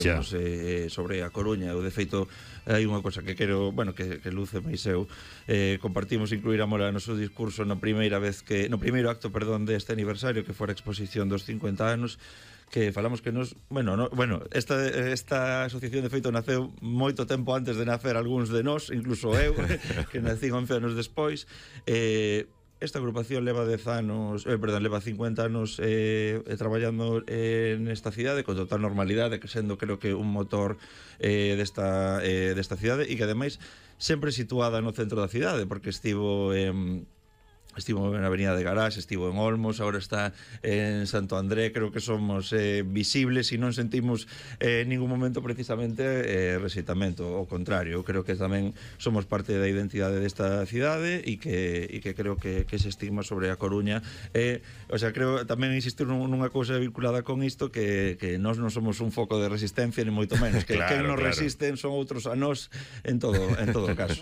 sobre a Coruña. Eu, de feito, hai unha cosa que quero, bueno, que Luz e máis eu compartimos incluir a mola no noso discurso no primeiro acto, perdón, deste aniversario, que fora a exposición dos 50 anos, que falamos que esta asociación, de feito, naceu moito tempo antes de nacer algúns de nós, incluso eu, que nací 11 anos despois. Esta agrupación leva 50 anos traballando nesta cidade con total normalidade, que sendo, creo que, un motor desta cidade, e que ademais sempre situada no centro da cidade, porque estivo na Avenida de Garaxe, estivo en Olmos, agora está en Santo André. Creo que somos visibles e non sentimos en ningún momento precisamente rexeitamento. Ao contrario, eu creo que tamén somos parte da identidade desta cidade e que creo que ese estigma sobre a Coruña creo tamén insistir nunha cousa vinculada con isto, que nós non somos un foco de resistencia, ni moito menos, que quen nos resisten son outros a nós en todo caso.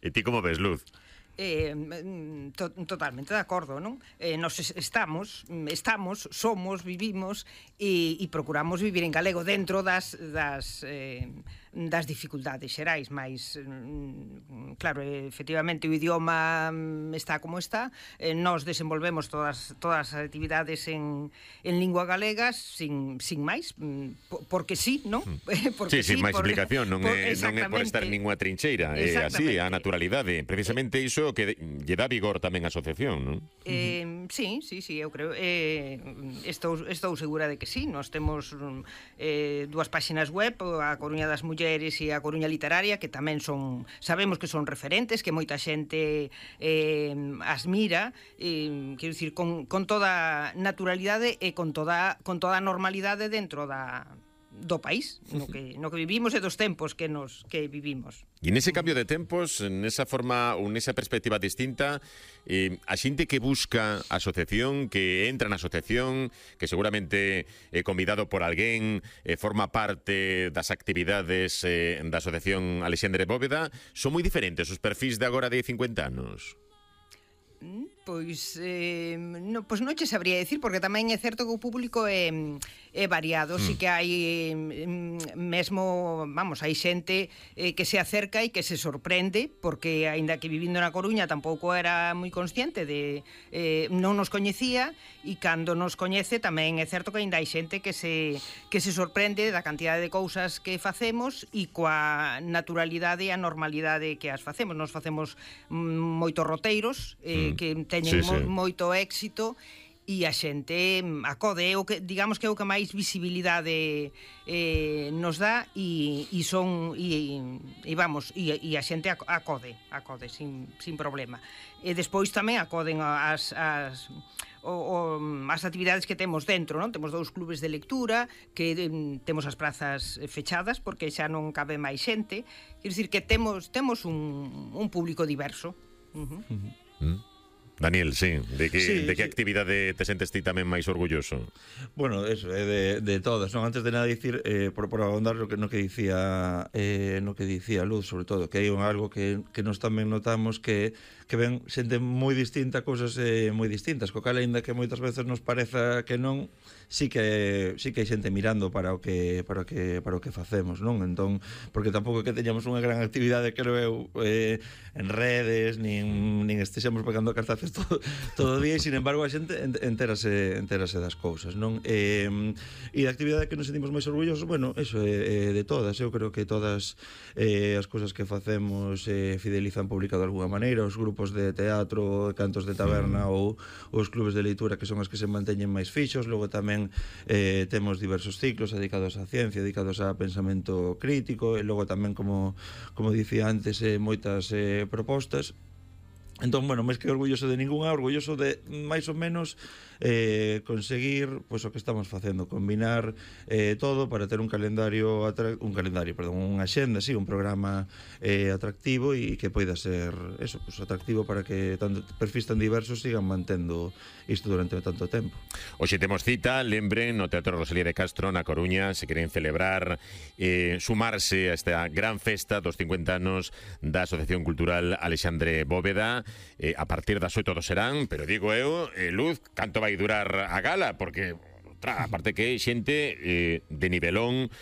E ti como ves, Luz? Totalmente de acordo, non? Nos somos, vivimos e procuramos vivir en galego dentro das dificultades xerais, mais claro, efectivamente o idioma está como está. Nós desenvolvemos todas as actividades en lingua galega sin máis, porque sí, non? Sin máis explicación, non é por estar en ninguna trincheira, é así, a naturalidade. Precisamente iso que lle dá vigor tamén a asociación, non? Sí, eu creo. Estou segura de que sí. Nos temos dúas páxinas web, a Coruña das Mulleres e a Coruña Literaria, que tamén sabemos que son referentes, que moita xente as mira, quero dicir, con toda naturalidade e con toda normalidade dentro do país no que vivimos e dos tempos que vivimos. E nese cambio de tempos, nesa forma ou nesa perspectiva distinta, a xente que busca a asociación, que entra na asociación, que seguramente é convidado por alguén, forma parte das actividades da asociación Alexandre Bóveda, son moi diferentes os perfis de agora de 50 anos? Pois non che sabría decir, porque tamén é certo que o público é variado. Si que hai mesmo, hai xente que se acerca e que se sorprende, porque aínda que vivindo na Coruña tampouco era moi consciente non nos coñecía, e cando nos coñece tamén é certo que aínda hai xente que se sorprende da cantidade de cousas que facemos e coa naturalidade e a normalidade que as facemos. Nos facemos moitos roteiros que teñen moito éxito e a xente acode. Digamos que é o que máis visibilidade nos dá e a xente acode sin problema. E despois tamén acoden as actividades que temos dentro, non? Temos 2 clubes de lectura, que temos as prazas fechadas porque xa non cabe máis xente. Quero dicir que temos un público diverso. Daniel, sí, de que actividade te sentes ti tamén máis orgulloso? Bueno, eso, de todas, non? Antes de nada dicir, por ahondar no que dicía Luz, sobre todo, que hai algo que nos tamén notamos que ven xente moi distinta, cousas moi distintas, co cal, aínda que moitas veces nos pareza que non, sí que hai xente mirando para o que facemos, non? Entón, porque tampouco que teñamos unha gran actividade, creo eu, en redes, nin estexamos pegando cartaces todo o día, e sin embargo a xente entérase das cousas, non? E da actividade que nos sentimos máis orgullosos, bueno, eso de todas. Eu creo que todas as cousas que facemos fidelizan pública de alguna maneira, os grupos de teatro, cantos de taberna ou os clubes de leitura, que son os que se manteñen máis fixos. Logo tamén temos diversos ciclos dedicados á ciencia, dedicados a pensamento crítico, e logo tamén, como dicía antes, moitas propostas. Entón, bueno, máis que orgulloso de ninguna, orgulloso de máis ou menos conseguir o que estamos facendo, combinar todo para ter unha axenda, un programa atractivo e que poida ser eso, atractivo para que tanto perfis tan diversos sigan mantendo isto durante tanto tempo. Hoxe temos cita, lembren, no Teatro Rosalía de Castro, na Coruña, se queren celebrar, sumarse a esta gran festa dos 50 anos da Asociación Cultural Alexandre Bóveda. A partir das 8 do serán, pero digo eu, Luz, canto vai durar a gala? Porque aparte que xente de nivelón